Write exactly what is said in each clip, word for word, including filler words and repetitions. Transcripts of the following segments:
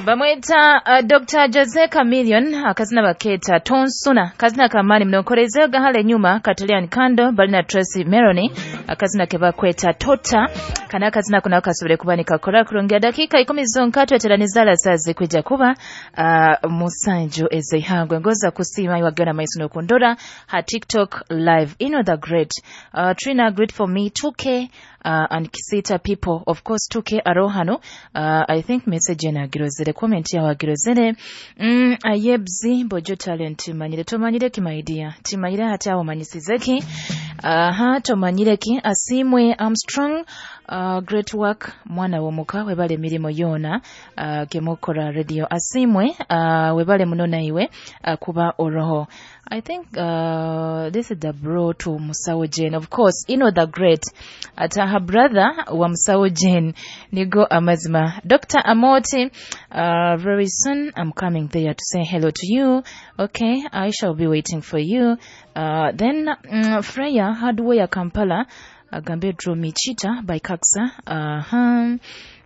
Bamweta uh, Doctor Jose Chameleone akazina baketa Tonsuna kazina kamani mnonkoreze gahale nyuma Katalian Kando balina Tracy Meloni akazina kebakweta Tota kana kazina kuna kasubire kuba nikakora kurongera dakika ikumi zonka tweteranizala sazi kwijja kuba uh, musanju ezihangwe ngoza kusima iwagana maiso nokundora ha TikTok live ino the great uh, Trina great for me two K uh, and Kisita people of course two K arohano uh, I think message na girozere comment ya wagirozere mm, ayebzi bojo talent manyire tomanyire ki my dear timanyire hata omanyisizeki aha uh, tomanyire ki asimwe Armstrong uh, great work mwana womuka webale mirimo yona uh, kemukora radio asimwe uh, webale muno naiwe uh, kuba oroho. I think uh, this is the bro to Musawo Jane. Of course, you know the great. At her brother wa Musawo Jane. Nigo amazima. Doctor Amoti, uh, very soon I'm coming there to say hello to you. Okay, I shall be waiting for you. Uh, then um, Freya Hardware Kampala, agambe Draw Me Cheetah by Kaksa. Uh-huh.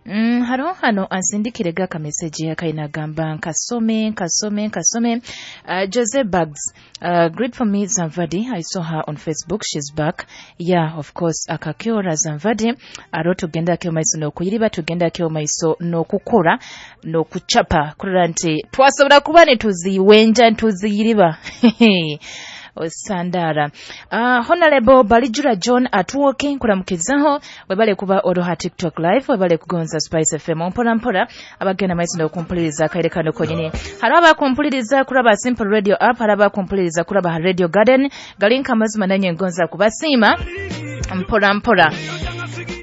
Mm, haro hano ansindikire gaka message yakaina gamba nkasome nkasome nkasome uh, Jose Bugs uh, great for me Zamvadi. I saw her on Facebook, she's back. Yeah, of course akakiora Zamvadi aro tugenda kyo maiso no kuyiriba tugenda kyo maiso no kukora no kuchapa kurora nti twasobora kuba ne tuziwenja ntuziyiriba osandara. Uh, Honorable Balijura John atuwoke nkuramukizaho webale kuba oroha TikTok live webale kugonza Spice F M mpora mpora abagenda maiso n'okumpuliriza akaire kano konyine. Hari abakumpuliriza kuraba Simple Radio app, hari abakumpuliriza kuraba Radio Garden galinka amazima nanye ngonza kubasiima mpora mpora.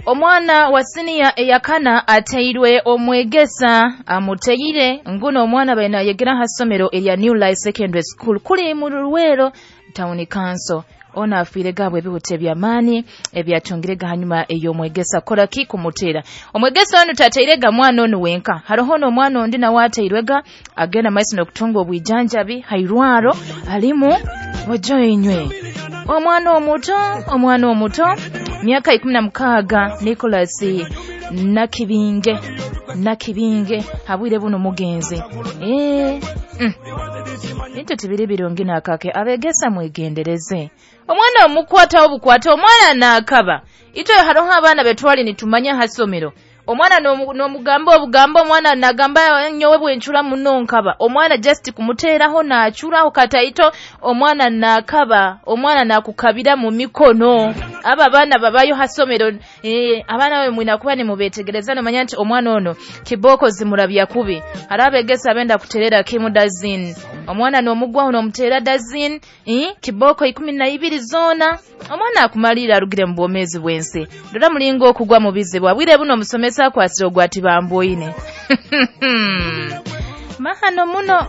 Omwana wa siniya eyakana ateirwe omwegesa amuteyire nguno omwana bena yegera hasomero erya New Life Secondary School kuli mu Luwero Town Council. Ona afiire gabwe ebihute by'amaani ebyatungirega hanyuma ey'omwegesa kola ki kumutera omwegesa ono tateirega mwana ono wenka hariho n'omwana ondi nawe ateirwega agenda maiso n'okutunga obwijanjabi hairwaro alimu ojoinywe omwana omuto omwana omuto miaka ikumi na mukaaga Nicholas Nakibinge Nakibinge habwire buno mugenzi eh mm. Bintu tibiri birungi nakake abegesa mwegendereze omwana omukwata obukwata omwana nakaba ito hariho abaana betwali nitumanya hasomero omwana n'omugamba obugamba omwana nagamba nyowe bwenchura muno nkaba omwana just kumuteeraho naachuraho kataito omwana nakaba omwana nakukabira mu mikono aba abaana babayo hasomero eh, abaana we mwina kuba nimubetegereza nomanya nti omwana ono kiboko zimurabya kubi hari abegesa abenda kuterera kimu dazin omwana n'omugwaho n'omuteera dazin eh, kiboko ikumi na ibiri zona omwana akumalira arugire mu bwomezi bwensi ndora mulingo okugwa mu bizibu abwire buno omusomesa akwasire ogwati bamboine mahano muno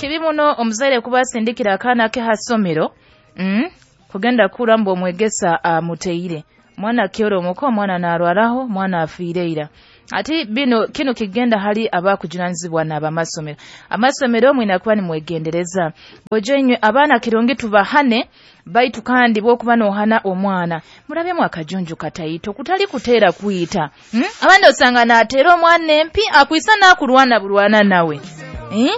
kibi muno omuzaire kuba asindikira akaana ke hasomero mm? kugenda kura mbu omwegesa amuteire mwana kyoro omuko omwana narwaraho mwana afiireira ati bino kino kigenda hali abakujunanizibwa n'abamasomero amasomero mwina kuba nimwegendereza bojo abaana kirungi tubahane baitu kandi bwokuba nohana omwana murabyemu akajunju kataito kutali kuteera kuyita hmm? Abandi osanga nateera omwana empi akwisa nakulwana bulwana nawe eh?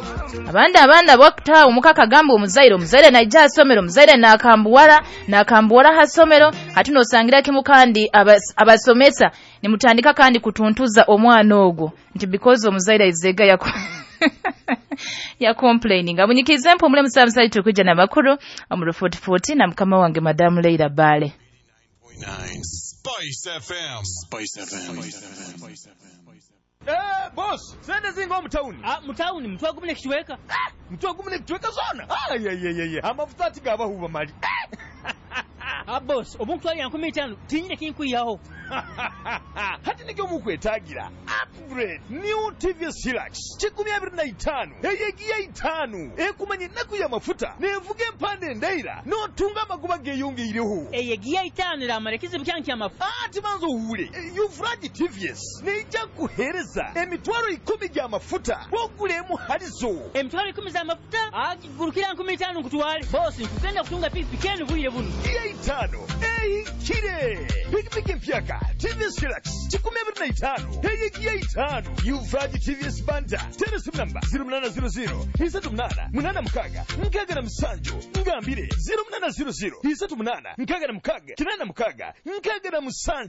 Abandi abaana bakutaawo omukaka gamba omuzaire omuzaire naija asomero omuzaire nakambuwala nakambuwala hasomero ate nosangira kimu kandi abas, abasomesa nimutandika kandi kutuntuza omwana ogwo nti because omuzaire izega yako ya complaining abunyikize mpo mule musamusali tukujja na makuru omuru forty forty na mukama wange Madam Leila Bale. Spice F M. Spice F M. Spice F M. Eh, boss, sende zingo mutauni. Ah, mutauni mtwa gumune kichweka. Ah, mtwa gumune kichweka zona. Ah, ye ye ye ye. Amafuta ati gabahuba mali. Ah, boss, omuntu ali ankumi itano tinyine kinkuyaho. Hati nikyo mukwetagira. Upgrade New T V S Hilux. Kikumi abiri na itano. Eyegiya itano. Ekumanye naku ya mafuta. Nevuge empande ndaira. Notunga amagoba geyongeireho. Eyegiya itano ramara kizibu kyange amafuta. Ah, tibanzo uwule. Yufraji T V S. Neija kuhereza emitwaro ikumi gya mafuta. Wogulemu halizo. Emitwaro ikumi za mafuta? Ah, gurukira nkumi itano nkutwale. Boss, nkugenda kutunga pikipiki enu bwire buno. Giya itano. itaano ehikire. Pikipiki empyaka T V S Hilux kikumi abiri na itaano eyegiya itaano. Yuvraj T V S Banda, tera esimu namba zero munaana zero zero isatu munaana munaana mukaaga nkaaga na musanju. Ngambire zero munaana zero zero isatu munaana nkaaga na mukaaga kinaana mukaaga nkaaga na musanju.